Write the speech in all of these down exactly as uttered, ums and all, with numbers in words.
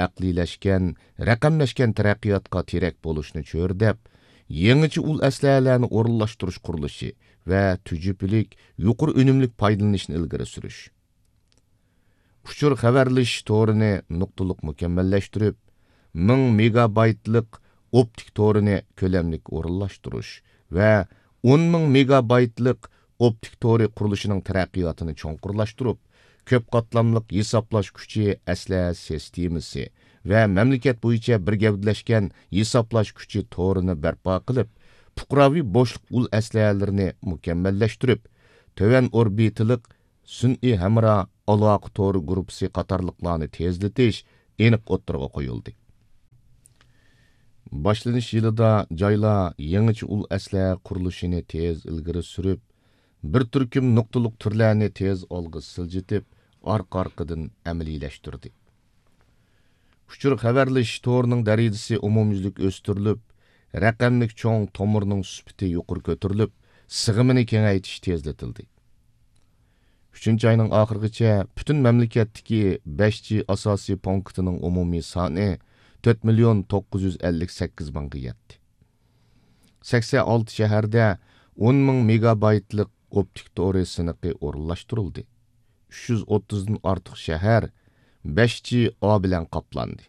ئەقلىيلەشكەن، رەقەملەشكەن تەرەققىياتقا تىرەك بولۇشنى چۆرىدەپ، يېڭىچە ئۇل ئەسلىھەلەرنى ئورۇنلاشتۇرۇش قۇرۇلۇشى ۋە تۈجۈپىلىك، يۇقىرى ئۈنۈملۈك پايدىلىنىشنى ئىلگىرى سۈرۈش. ئۇچۇر خەۋەرلىشىش تورىنى نۇقتىلىق مۇكەممەللەشتۈرۈپ، مىڭ مېگابايتلىق ئوپتىك تورىنى كۆلەملىك ئورۇنلاشتۇرۇش ۋە ئون مىڭ مېگابايتلىق ئوپتىك تورى قۇرۇلۇشىنىڭ تەرەققىياتىنى چوڭقۇرلاشتۇرۇپ، كۆپ قاتلاملىق ھېسابلاش كۈچى ئەسلىھە سىستېمىسى ۋە مەملىكەت بويىچە بىر گەۋدىلەشكەن ھېسابلاش كۈچى تورىنى بەرپا قىلىپ، پۇقراۋى بوشلۇق ئۇل ئەسلىھەلىرىنى مۇكەممەللەشتۈرۈپ، تۆۋەن ئوربىتىلىق سۈنئىي ھەمراھ ئالاقە تورى گۇرۇپپىسى قاتارلىقلارنى تېزلىتىش ئېنىق ئوتتۇرىغا قويۇلدى. باشلىنىش يىلىدا جايلار يېڭىچە ئۇل ئەسلىھە قۇرۇلۇشىنى تېز ئىلگىرى سۈرۈپ، بىر تۈركۈم نۇقتىلىق تۈرلەرنى تېز ئالغا سىلجىتىپ، ئارقا-ئارقىدىن ئەمەلىيلەشتۈردى. ئۇچۇر خەۋەرلىشىش تورىنىڭ دەرىجىسى ئومۇميۈزلۈك ئۆستۈرۈلۈپ، رەقەملىك چوڭ تومۇرنىڭ سۈپىتى يۇقىرى كۆتۈرۈلۈپ، سىغىمىنى كېڭەيتىش تېزلىتىلدى. ئۈچىنچى ئاينىڭ ئاخىرىغىچە پۈتۈن مەملىكەتتىكى بەش جى ئاساسىي پونكىتىنىڭ ئومۇمىي سانى تۆت مىليون توققۇز يۈز ئەللىك سەككىز مىڭغا يەتتى. سەكسەن ئالتە شەھەردە ئون مىڭ مېگابايتلىق ئوپتىك تورى سىنىقى ئورۇنلاشتۇرۇلدى. ئۈچ يۈز ئوتتۇزدىن ئارتۇق شەھەر بەش جى ئا بىلەن قاپلاندى.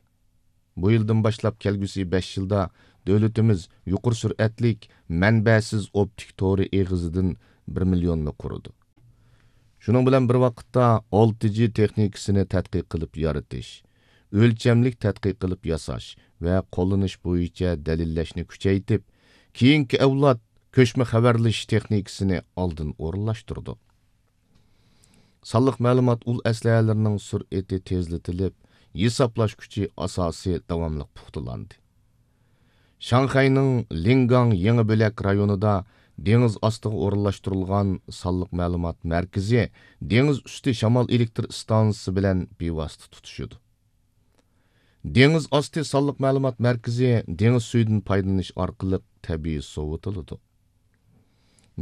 بۇ يىلدىن باشلاپ كەلگۈسى بەش يىلدا دۆلىتىمىز يۇقىرى سۈرئەتلىك مەنبەسىز ئوپتىك تورى ئېغىزىدىن بىر مىليوننى قۇرىدۇ. شۇنىڭ بىلەن بىر ۋاقىتتا، ئالتە جى تېخنىكىسىنى تەتقىق قىلىپ يارىتىش، ئۆلچەملىك تەتقىق قىلىپ ياساش ۋە قوللىنىش بويىچە دەلىللەشنى كۈچەيتىپ، كېيىنكى ئەۋلاد كۆچمە خەۋەرلىشىش تېخنىكىسىنى ئالدىن ئورۇنلاشتۇردۇق. سانلىق مەلۇمات ئۇل ئەسلىھەلىرىنىڭ سۈرئىتى تېزلىتىلىپ، ھېسابلاش كۈچى ئاساسى داۋاملىق پۇختىلاندى. شاڭخەينىڭ لىڭگاڭ يېڭى بۆلەك رايونىدا دېڭىز ئاستىغا ئورۇنلاشتۇرۇلغان سانلىق مەلۇمات مەركىزى دېڭىز ئۈستى شامال ئېلېكتر ئىستانسىسى بىلەن بىۋاسىتە تۇتىشىدۇ. دېڭىز ئاستى سانلىق مەلۇمات مەركىزى دېڭىز سۈيىدىن پايدىلىنىش ئارقىلىق تەبىئىي سوۋۇتۇلىدۇ.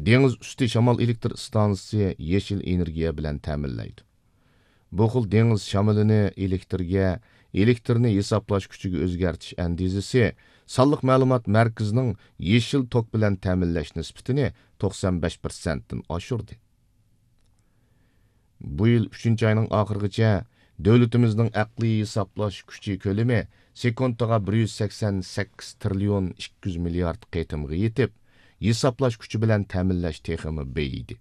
دېڭىز ئۈستى شامال ئېلېكتر ئىستانسىسى يېشىل ئېنېرگىيە بىلەن تەمىنلەيدۇ. بۇ خىل دېڭىز شامىلىنى ئېلېكترگە، ئېلېكترنى ھېسابلاش كۈچىگە ئۆزگەرتىش ئەندىزىسى سانلىق مەلۇمات مەركىزىنىڭ يېشىل توك بىلەن تەمىنلەش نىسبىتىنى توقسان بەش پىرسەنتتىن ئاشۇردى. بۇ يىل ئۈچىنچى ئاينىڭ ئاخىرىغىچە دۆلىتىمىزنىڭ ئەقلىي ھېسابلاش كۈچى كۆلىمى سېكۇنتىغا بىر يۈز سەكسەن سەككىز تىرىليون ئىككى يۈز مىليارد قېتىمغا يېتىپ، ھېسابلاش كۈچى بىلەن تەمىنلەش تېخىمۇ بېيىدى.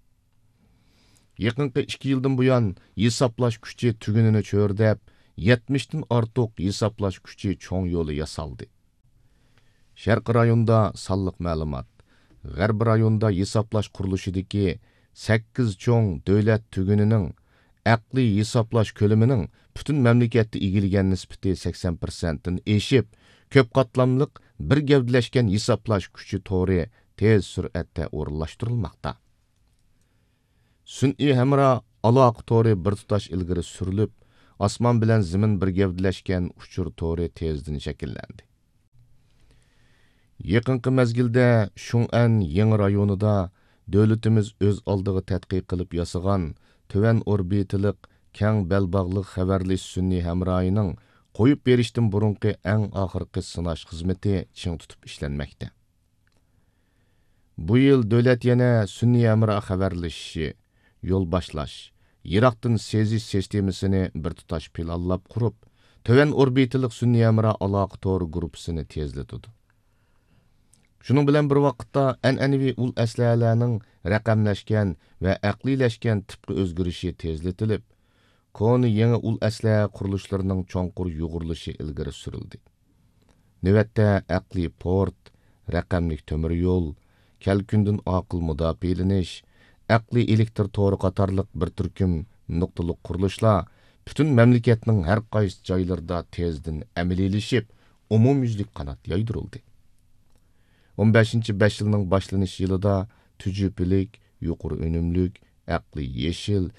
يېقىنقى ئىككى يىلدىن بۇيان، ھېسابلاش كۈچى تۈگۈنىنى چۆرىدەپ، يەتمىشتىن ئارتۇق ھېسابلاش كۈچى چوڭ يولى ياسالدى. شەرقىي رايوندا سانلىق مەلۇمات، غەربىي رايوندا ھېسابلاش قۇرۇلۇشىدىكى سەككىز چوڭ دۆلەت تۈگۈنىنىڭ ئەقلىي ھېسابلاش كۆلىمىنىڭ پۈتۈن مەملىكەتتە ئىگىلىگەن نىسبىتى سەكسەن پىرسەنتتىن ئېشىپ، كۆپ قاتلاملىق بىر گەۋدىلەشكەن ھېسابلاش كۈچى تورى تېز سۈرئەتتە ئورۇنلاشتۇرۇلماقتا. سۈنئىي ھەمراھ ئالاقە تورى بىر تۇتاش ئىلگىرى سۈرۈلۈپ، ئاسمان بىلەن زېمىن بىر گەۋدىلەشكەن ئۇچۇر تورى تېزدىن شەكىللەندى. يېقىنقى مەزگىلدە شۇڭئەن يېڭى رايونىدا دۆلىتىمىز ئۆز ئالدىغا تەتقىق قىلىپ ياسىغان تۆۋەن ئوربىتىلىق، كەڭ بەلباغلىق خەۋەرلىشىش سۈنئىي ھەمراھىنىڭ قويۇپ بېرىشتىن بۇرۇنقى ئەڭ ئاخىرقى سىناش خىزمىتى چىڭ تۇتۇپ ئىشلەنمەكتە. بۇ يىل دۆلەت يەنە سۈنئىي ھەمراھ خەۋەرلىشىشى، يول باشلاش، يىراقتىن سېزىش سىستېمىسىنى بىر تۇتاش پىلانلاپ قۇرۇپ، تۆۋەن ئوربىتىلىق سۈنئىي ھەمراھ ئالاقە تورى گۇرۇپپىسىنى تېزلىتىدۇ. شۇنىڭ بىلەن بىر ۋاقىتتا، ئەنئەنىۋى ئۇل ئەسلىھەلەرنىڭ رەقەملەشكەن ۋە ئەقلىيلەشكەن تىپقا ئۆزگىرىشى تېزلىتىلىپ، كونا يېڭى ئۇل ئەسلىھە قۇرۇلۇشلىرىنىڭ چوڭقۇر يۇغۇرۇلۇشى ئىلگىرى سۈرۈلدى. نۆۋەتتە ئەقلىي پورت، رەقەملىك تۆمۈر يول، كەلكۈندىن ئاقىل مۇداپىئەلىنىش، ئەقلىي ئېلېكتر تورى قاتارلىق بىر تۈركۈم نۇقتىلىق قۇرۇلۇشلار پۈتۈن مەملىكەتنىڭ ھەر قايسى جايلىرىدا تېزدىن ئەمەلىيلىشىپ، ئومۇميۈزلۈك قانات يايدۇرۇلدى. ئون بەشىنچى بەش يىلنىڭ باشلىنىش يىلىدا تۈجۈپىلىك، يۇقىرى ئۈنۈملۈك، ئەقلىي يېشىل،